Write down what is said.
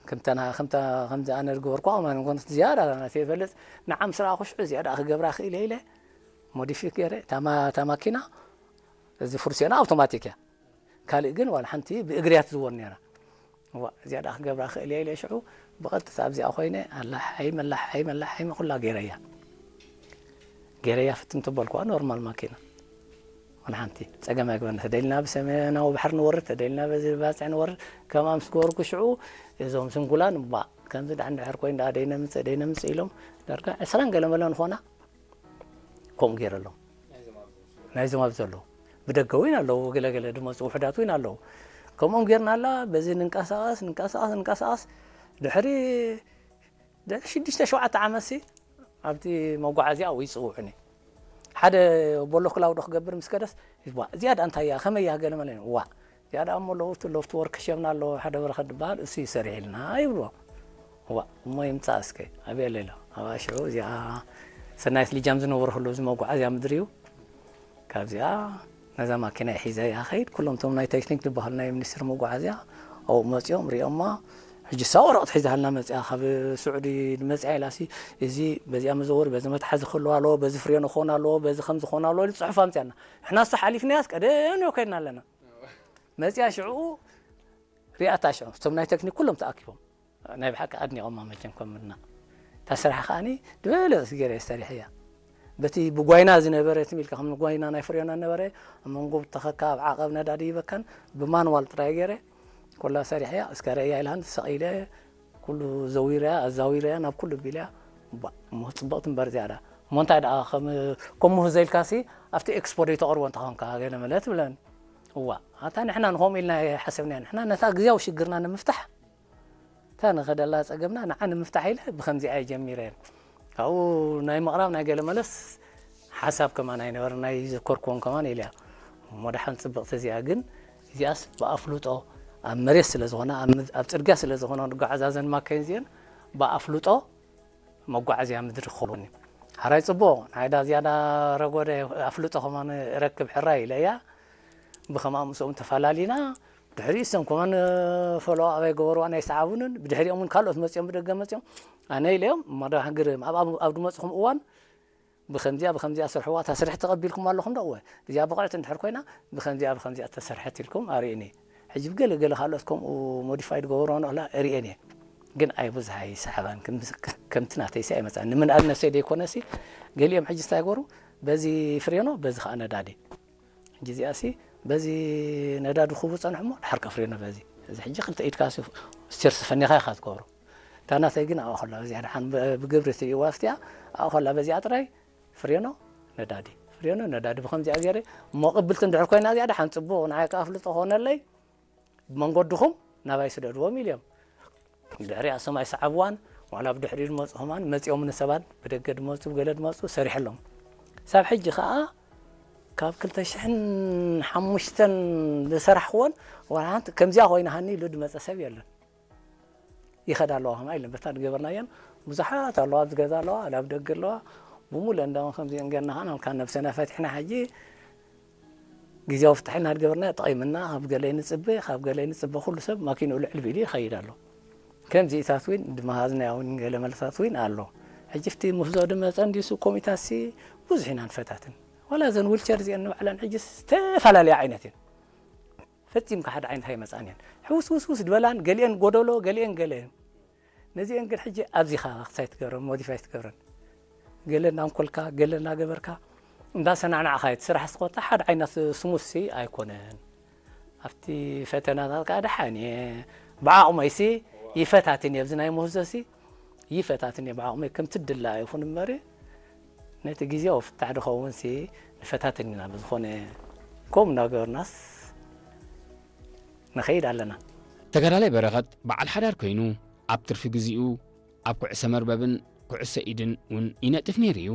ከምተና ከምታ ከምዚ ኣነ ዝገበርኩ ኣማን እንኮን ዝያዳ ናተ ይፈልጥ። ንዓም ስራ ክሽዑ ዝያዳ ክገብራ ክእል ኢለ ሞዲፊክ ገይረ ታማ ታማኪና እዚ ፍርሲዮና ኣውቶማቲክ እያ። ካልእ ግን ዋላ ሓንቲ ብእግርያ ትዝወር ነይራ። ዋ እዚኣ ደኣ ክገብራ ክእል እየ ኢለ ሽዑ ብቐጥታ ኣብዚኣ ኮይነ ኣላሓይመ ኣላሓይመ ኣላሓይመ ኩላ ገይረያ። ገይረያ ፍትን ተበልኩዋ ኖርማል ማኪና። ዋላ ሓንቲ ጸገም ኣይግበርና። ተደሊና ብሰሜናዊ ባሕሪ ንወርድ፣ ተደሊና በዚ ባጽዕ ንወርድ። ከምኣ ምስ ገበርኩ ሽዑ እዞም ስንኩላን እባ ከምዚ ደኣ እንድሕር ኮይኑ ደኣ ደይነምጽእ ደይነምጽእ ኢሎም ዳርጋ ዕስራን ገለ መለ ንኾና ከምኡ ገይረሎም። ናይዞም ኣብ ዘለዉ ብደገ እውን ኣለዉ፣ ገለገለ ድመፁ ውሑዳት እውን ኣለዉ። ከምኦም ጌርና ኣላ በዚ ንንቀሳቐስ ንንቀሳቐስ ንንቀሳቐስ ድሕሪ ድሕሪ ሽዱሽተ ሸውዓተ ዓመት ሲ ኣብቲ መጓዓዝያ ኣብኡ ይፅውዑኒ። ሓደ ቦሎ ክላውዶ ክገብር ምስ ከደስ ዋ እዚኣ ደኣ እንታይ እያ ከመይ እያ ገለ መለ ዋ እዚኣ ደኣ እሞ ሎፍት ሎፍት ወርክ ሸምና ኣለዎ ሓደ በረኸት ዝበሃል እሱ ይሰርሕ ኢልና ይብልዎ። ዋ እሞ ይምፃእ እስከ ኣበየ ሌሎ ኣብ ኣሽዑ እዚኣ ሰናይት ልጃም ዝነበርኩሉ እዚ መጓዓዝያ ምድሪ እዩ። ካብዚኣ ነዛ ማኪና ሒዘ እያ ኸይድ። ኩሎም እቶም ናይ ቴክኒክ ዝበሃሉ ናይ ሚኒስትሪ መጓዓዝያ ኣብኡ መፂኦም ሪኦማ። ሕጂ እሳ ወረቕት ሒዛሃልና መፂኣ ካብ ስዑዲ መፂኣ ኢላሲ እዚ በዚኣ መዘወሪ በዚ መትሓዚ ክህልዋ ኣለዎ በዚ ፍሬኖ ክኾን ኣለዎ በዚ ከም ዝኾን ኣለዎ ኢሉ ፅሑፍ ኣምፅኣና። ንሕና እሱ ሓሊፍናያስ ቀደም ከይድና ኣለና። መፂኣ ሽዕኡ ሪኣታ ሽዑ እቶም ናይ ቴክኒክ ኩሎም ተኣኪቦም ናይ ብሓቂ ኣድኒቖማ መቸም ከም ምድና እታ ስራሕ ከዓኒ ዝበለፀት ገይረ ሰሪሐያ። በቲ ብጓይና ዝነበረ ትም ኢልካ ከም ጓይና ናይ ፍሬና ነበረ ኣብ መንጎ ብተኸካ ኣብ ዓቐብ ነዳዲ ይበካን ብማንዋል ጥራይ ገይረ ኮላ ሰሪሐያ እስከ ረእያ ኢልሃን ተሰቒለ ኩሉ ዘዊረያ ኣዛዊረያ ናብ ኩሉ ቢልያ እሞ ፅብቕቲ እምበር ዝያዳ እሞ እንታይ ደኣ ከም ከም ምህዞ ኢልካሲ ኣብቲ ኤክስፖ ዶ ተቕርቦ እንተኾንካ ገለ መለ ትብለን። እዋ ኣታ ንሕና ንኸምኡ ኢልና ሓሰብና ንሕና ነታ ግዜያዊ ሽግርና ንምፍታሕ እታ ንኸደላ ጸገምና ንዓ ንምፍታሕ ኢለ ብኸምዚኣ እየ ጀሚረ። ካብኡ ናይ ምቕራብ ናይ ገለ መለስ ሓሳብ ከማን ኣይነበረ ናይ ዘከርክዎም ከማን ኢለያ። እሞ ደሓን ጽብቕቲ እዚኣ ግን እዚኣስ ብኣፍልጦ ኣብ መሬት ስለ ዝኾነ ኣብ ጽርግያ ስለ ዝኾነ ንጓዓዛዘን ማካይን እዚአን ብኣፍልጦ መጓዓዝያ ምድሪ ክኸውን ሓራይ ጽቡቕ ንዓይዳ ዝያዳ ረጎደ ኣፍልጦ ከማን ረክብ ሕራይ ኢለያ። ብኸምኣ ምስኦም ተፈላሊና ድሕሪ እሶም ከማን ፈለዋ ኣባይ ገበርዋ ናይ ሰዓቡንን ብድሕሪኦም እውን ካልኦት መፅኦም ብደገ መፅኦም ኣነ ኢለዮም እሞ ዶ ሃገር ኣብ ድመፅኹም እዋን ብኸምዚኣ ብኸምዚኣ ስርሕዋ እታ ስርሒ ተቐቢልኩም ኣለኹም ዶ እወ እዚኣ ብቕዕቲ እንድሕር ኮይና ብኸምዚኣ ብኸምዚኣ ተሰርሐት ኢልኩም ኣርእኒ ሕጂ ብገለ ገለ ካልኦት ከምኡ ሞዲፋይ ድገበርዋ ንኽላ እርእየን እየ ግን ኣይብዝሓ ይሰሓባን ከምቲ ናተይሲ ኣይመፅኣን ንምንኣድ ነፍሰይ ደይኮነሲ ገሊኦም ሕጂ እንታይ ገሩ በዚ ፍሬኖ በዚ ከዓ ነዳዲ ሕጂ እዚኣሲ በዚ ነዳዲ ክቡ ፀንሕሞ ድሓር ከፍሬኖ በዚ እዚ ሕጂ ክልተ ኢድካ ስቲርስ ፈኒኻ ኢኻ ትገብሮ እታ ናተይ ግን ኣብኣ ከላ በዚኣ ድሓን ብግብሪ ትርእይዋ ስቲያ ኣብኣ ከላ በዚኣ ጥራይ ፍሬኖ ነዳዲ ፍሬኖ ነዳዲ ብከምዚኣ ገይረ እሞ ቅብልቲ እንድሕር ኮይና እዚኣ ድሓን ፅቡቕ ንዓይ ከዓ ኣፍልጦ ኾነለይ ብመንገድኹም ናባይ ስደድዎም ኢልዮም ድሕሪኣ ሰማይ ሰዓብዋን ዋላ ብድሕሪኡ ድመፁ ከማን መፂኦም ንሰባት ብደገ ድመፁ ብገለ ድመፁ ሰሪሐሎም ሳብ ሕጂ ከዓ ካብ ክልተ ሽሕን ሓሙሽተን ዝሰራሕክዎን ዋላ ሓንቲ ከምዚኣ ኮይና ሃኒ ኢሉ ድመፀ ሰብ የለን ይኸዳ ኣለዋ ከማ ኢለን በታ ድገበርናየን ብዙሓት ኣለዋ ኣብዚ ገዛ ኣለዋ ላብ ደገ ኣለዋ ብሙሉ እንዳውን ከምዚአን ገርና ከዓ ናልካ ነብሰና ፈቲሕና ሕጂ ግዜያዊ ፍትሒ እናድገበርና ጠቒምና ካብ ገለ ንፅበ ካብ ገለ ንፅበ ኩሉ ሰብ ማኪንኡ ልዕል ቢሉ ይኸይድ ኣሎ ከምዚኢታት እውን ድመሃዝናያ እውን ገለ መልስታት እውን ኣሎ ሕጂ ፍቲ ምህዞ ድመፀ እንዲሱ ኮሚታሲ ብዙሕ ኢና ንፈታትን ዋላ እዘን ዊልቸር እዚአን ንባዕለን ሕጂ ዝተፈላለያ ዓይነት እየን ፈፂምካ ሓደ ዓይነት ኣይመፃን እየን ሕውስውስውስ ድበላን ገሊአን ጎደሎ ገሊአን ገለ ነዚአን ግን ሕጂ ኣብዚኻ ክሳይ ትገብረን ሞዲፋይ ትገብረን ገለ እናንኮልካ ገለ እናገበርካ እንዳሰናዕናዕካ እቲ ስራሕ ስኮታ ሓደ ዓይነት ስሙሲ ኣይኮነን ኣብቲ ፈተናታት ከዓ ደሓን እየ ብዓቕመይሲ ይፈታትን እየ ኣብዚ ናይ ምህዞሲ ይፈታትን እየ ብዓቕመይ ከምቲ ድላ ይኹን እምበሪ ነቲ ግዜያዊ ፍታሕ ድኸውንሲ ንፈታትን ኢና ብዝኾነ ከምኡ እናገበርናስ ንኸይድ ኣለና ተጋዳላይ በረኸት በዓል ሓዳር ኮይኑ ኣብ ትርፊ ግዚኡ ኣብ ኩዕሰ መርበብን ኩዕሰ ኢድን እውን ይነጥፍ ነይሩ እዩ።